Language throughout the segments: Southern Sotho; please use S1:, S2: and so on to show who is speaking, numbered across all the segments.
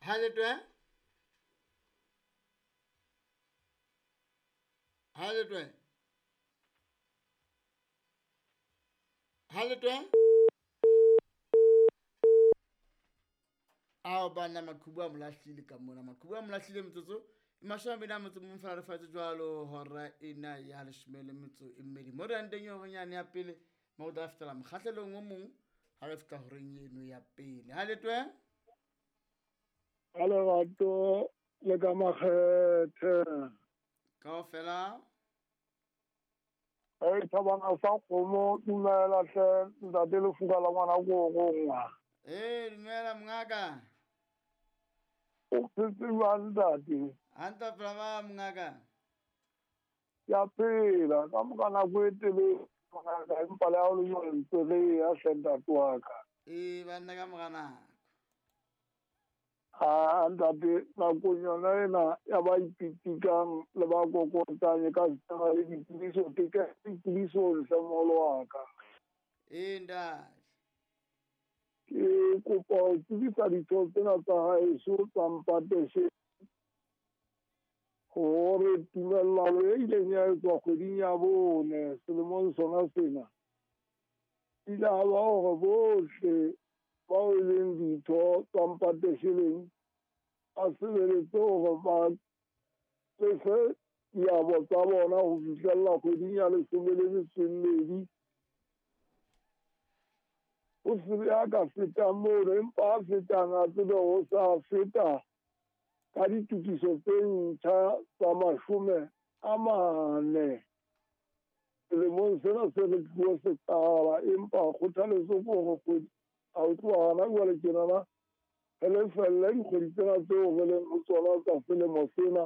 S1: Ha le twe? Ha le twe? Ha le twe? Ao banna maqhubu a molahlile ka mona, maqhubu a molahlile metsotso e 21 fela re faetse jwalo hora ena ya 12. Mo re yang teng e horeng ya pele, mo re tla fetela mokgahlelong o mong ha re fihla horeng eno ya pele. Ha le twe?
S2: Ka lerato le ka makgethe.
S1: Kaofela.
S2: Hey, thabana sa kgomo, dumela hle, ntate Lefuka la ngwana ko rongwa.
S1: Eh, dumela mongaka.
S2: O phetse jwang ntate?
S1: Hantle phela ba mongaka.
S2: Ke a phela, ka moka nako e telele mongaka, empa le ha o le jwalo ntse re ya hle ntate wa ka.
S1: Ee, banna ka mora nako.
S2: Ha ntate, nakong yona ena ya ba ipitikang le ba kokotang e ka sitana le ditsebiso, ke ka ditsebiso hle moholo wa ka.
S1: Ee, ntate.
S2: Ke kopa ho tsebisa ditho tsena tsa haeso tsa Mpateshe hore tumellano e ileng ya etswa kgweding ya 4 selemong sona sena, ile ha ba hore bohle bao e leng ditho tsa Mpatesheleng ba sebeletse hore ba lefe diabo tsa bona ho fihlella kgweding ya 12. O se be a ka fetang mono, empa a fetang a tsebe ho sa feta ka ditokiso tse ntjha tsa 40 selemong sena se re tlo se qala. Empa kgothaletso ke hore kgwedi ha o tloha hona jwale tjenana, re lefelle dikgwedi tsena tseo re leng ho tsona tsa selemo sena,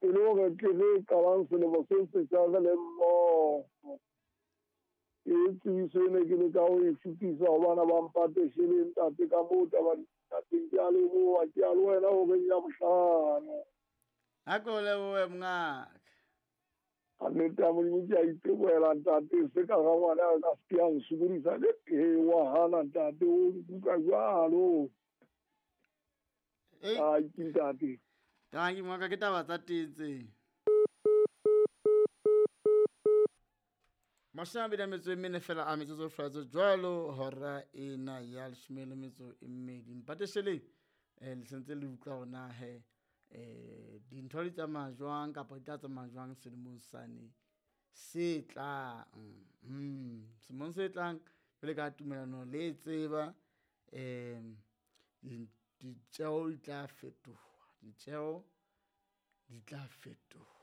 S2: e le hore tle re qalang selemo se setjha re le mmoho. Ke tsebiso ene ke leka ho e fetisa ho bana ba Mpatesheleng ntate ka moo taba di teng. Ke a leboha, ke a le wena horeng ya 5.
S1: Ha ke o lebohe mongaka.
S2: Ka nnete ya Modimo ke a itebohela ntate, se ka ga ngwana a ka se ke a nsokodisa le he wa hana ntate, o nkuka jwalo.
S1: Ei.
S2: Ai, ke ntate.
S1: Tanki mongaka, ke taba tsa teng tse. 24 fela a metsotso fela jwalo hora ena ya 12. Mpatesheleng, le sentse le utlwa hore na he, dintho di tsamaya jwang kapa di tla tsamaya jwang selemong sane se tlang. Selemong se tlang jwale ka tumellano le tseba, ditjeo di tla fetoha, ditjeo di tla fetoha.